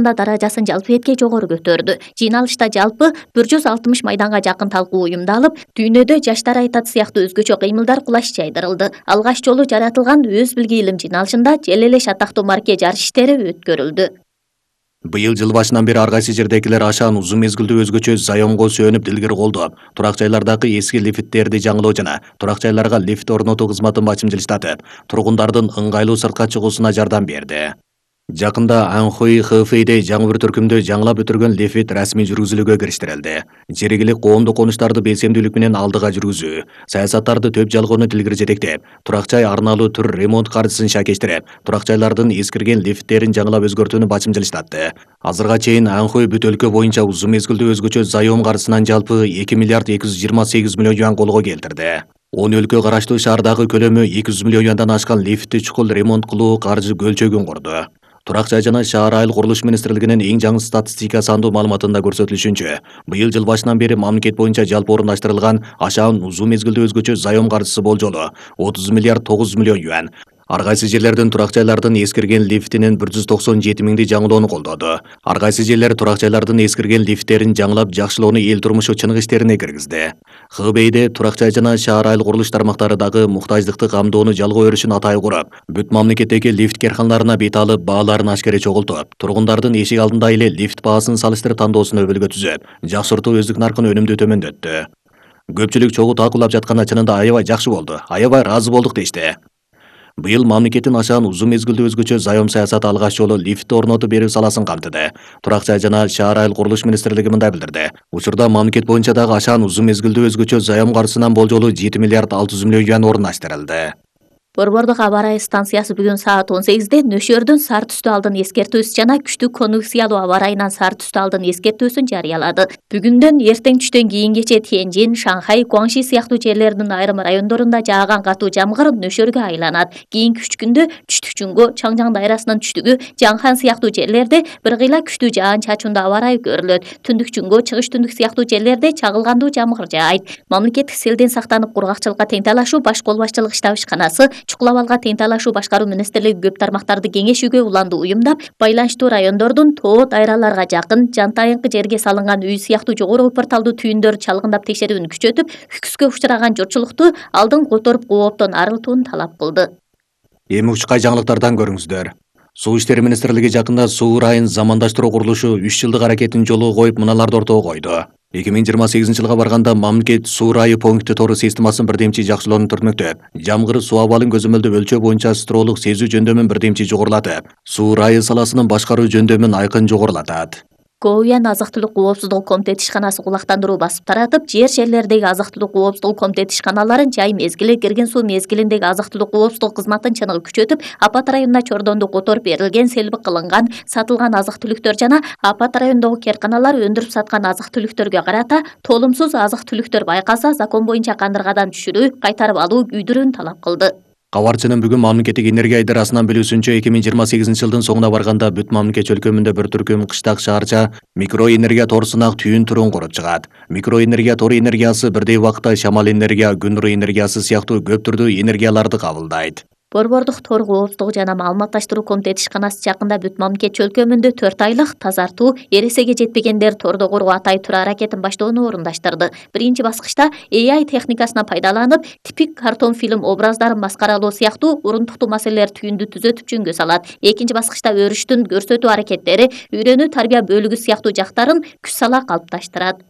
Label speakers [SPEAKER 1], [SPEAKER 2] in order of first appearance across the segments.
[SPEAKER 1] даражасын жалпы этке жогору көтөрдү. Жыйналышта жалпы 160 майданга жакын талкуу уюмдалып, дүйнөдө жаштар айтат сыяктуу өзгөчө кыймылдар кулаш жайдырылды. Алгач жолу жаратылган өз билги илим жыйналышында жел эле шатактуу марке жарыш иштери өткөрүлдү.
[SPEAKER 2] Быйыл жыл башынан бери ар кайсы жердегилер ашаан узун мезгилдүү өзгөчө заёмго сүйөнүп дилгир колдоп, турак жайлардагы эски лифттерди жаңылоо жана турак жайларга лифт орнотуу кызматын бачымчылыштатып, тургундардын ыңгайлуу сыртка чыгуусуна жардам берди. Жакында Анхой ХФИде жаңы бир түркүмдө жаңылап өтүргөн лифт расмий жүргүзүлүүгө кириштирилди. Жергиликтүү коомдук конуштарды белсемдүүлүк менен алдыга жүргүзүү, саясаттарды төп жалгоону дилгири жетектеп, турак жай арналуу түр ремонт каржысын шакештирип, турак жайлардын эскирген лифттерин жаңылап өзгөртүүнү бачымчылыштатты. Азырга чейин Анхой бүт өлкө боюнча узун мезгилдүү өзгөчө заём каржысынан жалпы 2 миллиард 228 миллион юан колго келтирди. 10 өлкө караштуу шаардагы көлөмү 200 миллион юандан ашкан лифтти чукул ремонт кылуу каржы көлчөгүн курду. Турак жай жана шаар айыл курулуш министрлигинин эң жаңы статистика сандуу маалыматында көрсөтүлүшүнчө, быйыл жыл башынан бери мамлекет боюнча жалпы орундаштырылган ашаан узун мезгилдүү өзгөчө заём каржысы болжолу 30 миллиард 900 миллион юан. Ар кайсы жерлердин турак жайлардын эскирген лифтинин 197 миңди жаңылоону колдоду. Ар кайсы жерлер турак жайлардын эскирген лифттерин жаңылап жакшылоону эл турмушу чыныгы иштерине киргизди. ХБИде турак жай жана шаар айыл курулуш тармактары дагы муктаждыкты камдоону жалгоо өрүшүн атай куруп, бүт мамлекеттеги лифт карканаларына бет алып, бааларын ашкере чогултуп, тургундардын эшик алдында эле лифт баасын салыштырып тандоосун өбөлгө түзүп, жакшыртуу өздүк наркын өнүмдүү төмөндөттү. Көпчүлүк чогуу талкуулап жатканда чынында аябай жакшы болду, аябай ыраазы болдук дешти. Быйыл мамлекеттин ашаан узун мезгилдүү өзгөчө заём саясаты алгач жолу лифт орнотуп берүү саласын камтыды. Турак жай жана шаар айыл курулуш министрлиги мындай билдирди. Учурда мамлекет боюнча дагы ашаан узун мезгилдүү өзгөчө заём каржысынан болжолу 7 миллиард 600 миллион юан орундаштырылды.
[SPEAKER 1] Борбордук аба ырайы станциясы бүгүн саат 18де нөшөрдүн сары түстүү алдын эскертүүсү жана күчтүү конвекциялуу аба ырайынан сары түстүү алдын эскертүүсүн жарыялады. Бүгүндөн эртең түштөн кийингече Тяньжин, Шанхай, Гуаңши сыяктуу жерлердин айрым райондорунда жааган катуу жамгыр нөшөргө айланат. Кийинки 3 күндө түштүк Чүнгө, Чаңжаң дайрасынын түштүгү, Жаңхан сыяктуу жерлерде бир кыйла күчтүү жаан чачуундуу аба ырайы көрүлөт. Түндүк Чүнгө, Чыгыш түндүк сыяктуу жерлерде чагылгандуу жамгыр жаайт. Мамлекеттик селден сактанып кургакчылыкка тең талашуу баш кол башчылык штаб ишканасы Чукулап алга тең талашуу башкаруу министрлиги көп тармактарды кеңешүүгө уланды уюмдап, байланыштуу райондордун тоо дайраларга жакын, жантайыңкы жерге салынган үй сыяктуу жогору порталдуу түйүндөрдү чалгындап текшерүүнү күчөтүп, хүкүскө учураган журтчулукту алдын которуп кооптон арылтууну талап кылды.
[SPEAKER 2] Эми учкай жаңылыктардан көрүңүздөр. Суу иштери министрлиги жакында суу ырайын замандаштыруу курулушу 3 жылдык аракетин жолго коюп мыналарды ортого койду. 2028 жылга барганда мамлекет суу ырайы пункти тору системасын бирдемчи жакшылоону түртмөктөп, жамгыр суу абалын көзөмөлдөө өлчөө боюнча строолук сезүү жөндөмүн бирдемчи жогорулатып, суу ырайы саласынын башкаруу жөндөмүн айкын жогорулатат.
[SPEAKER 1] Коуян азык-түлүк коопсуздугу комитети ишканасы кулактандыруу басып таратып, жерлердеги азык-түлүк коопсуздугу комитети ишканаларын жай мезгили, кирген суу мезгилиндеги азык-түлүк коопсуздугу кызматын чыныгы күчөтүп, апат районуна чордонду которуп берилген, селби кылынган, сатылган азык-түлүктөр жана апат районундагы керканалар өндүрүп саткан азык-түлүктөргө карата толумсуз азык-түлүктөр байкалса, закон боюнча кандыргадан түшүрүү, кайтарып алуу, күйдүрүүнү талап кылды.
[SPEAKER 2] Кабарчынын бүгүн мамлекеттик энергия идарасынан билүүсүнчө 2028 жылдын соңуна барганда бүт мамлекет өлкөмүндө bir түркүм кыштак шаарча микроэнергия торусунак түйүн турун куруп чыгат. Микроэнергия тору энергиясы бирдей убакта шамал энергия, күн нуру энергиясы сыяктуу көп түрдүү энергияларды кабылдайт.
[SPEAKER 1] Борбордук тор коопсуздугу жана маалыматташтыруу комитети ишканасы жакында бүт мамлекет чөлкөмүндө 4 айлык тазартуу, эресеге жетпегендер тордо куруу атай туруу аракетин баштоону орундаштырды. Биринчи баскычта AI техникасына пайдаланып, типик картон фильм образдарын маскаралоо сыяктуу урунтуктуу маселелер түйүндү түзөтүп жөнгө салат. Экинчи баскычта өрүштүн көрсөтүү аракеттери, үйрөнүү тарбия бөлүгү сыяктуу жактарын күч сала калыпташтырат.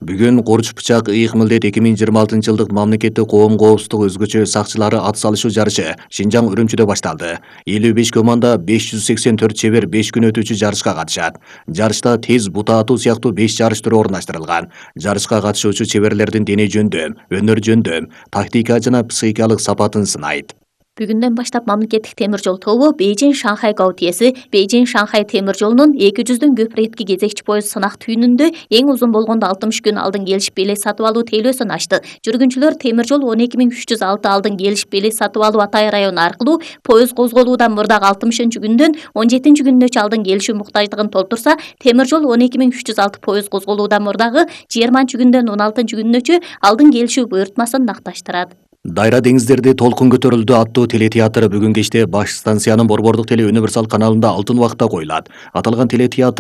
[SPEAKER 2] Бүгүн Корч бычак ыйык милдет 2026 жылдык мамлекеттик коом коопсуздук өзгөчө сакчылары ат салышуу жарышы Шинжаң Үрүмчүдө башталды. 55 команда 584 чебер 5 күн өтүүчү жарышка катышат. Жарышта тез бута атуу сыяктуу 5 жарыш түрү орундаштырылган. Жарышка катышуучу чеберлердин дене жөндөм, өнөр жөндөм, тактика жана психикалык сапатын сынайт.
[SPEAKER 1] Бүгүндөн баштап мамлекеттик темир жол тобу Бейжин-Шанхай Гаутиеси Бейжин-Шанхай темир жолунун 200дөн көп иретки кезекчи поезд сынак түйүнүндө эң узун болгондо 60 күн алдын келишип белек сатып алуу тейлөөсүн ачты. Жүргүнчүлөр темир жол 12306 алдын келишип белек сатып алуу Атай району аркылуу поезд козголуудан мурдагы 60-күндөн 17-күнүнө алдын келишүү муктаждыгын толтурса, темир жол 12306 поезд козголуудан мурдагы 20-күндөн 16-күнүнө алдын келишүү буйртмасын накташтырат.
[SPEAKER 2] Дайра деңиздерде толкун көтөрүлдү аттуу телетеатр бүгүн кечте баш станциянын борбордук теле универсал каналында алтын убакта коюлат. Аталган телетеатр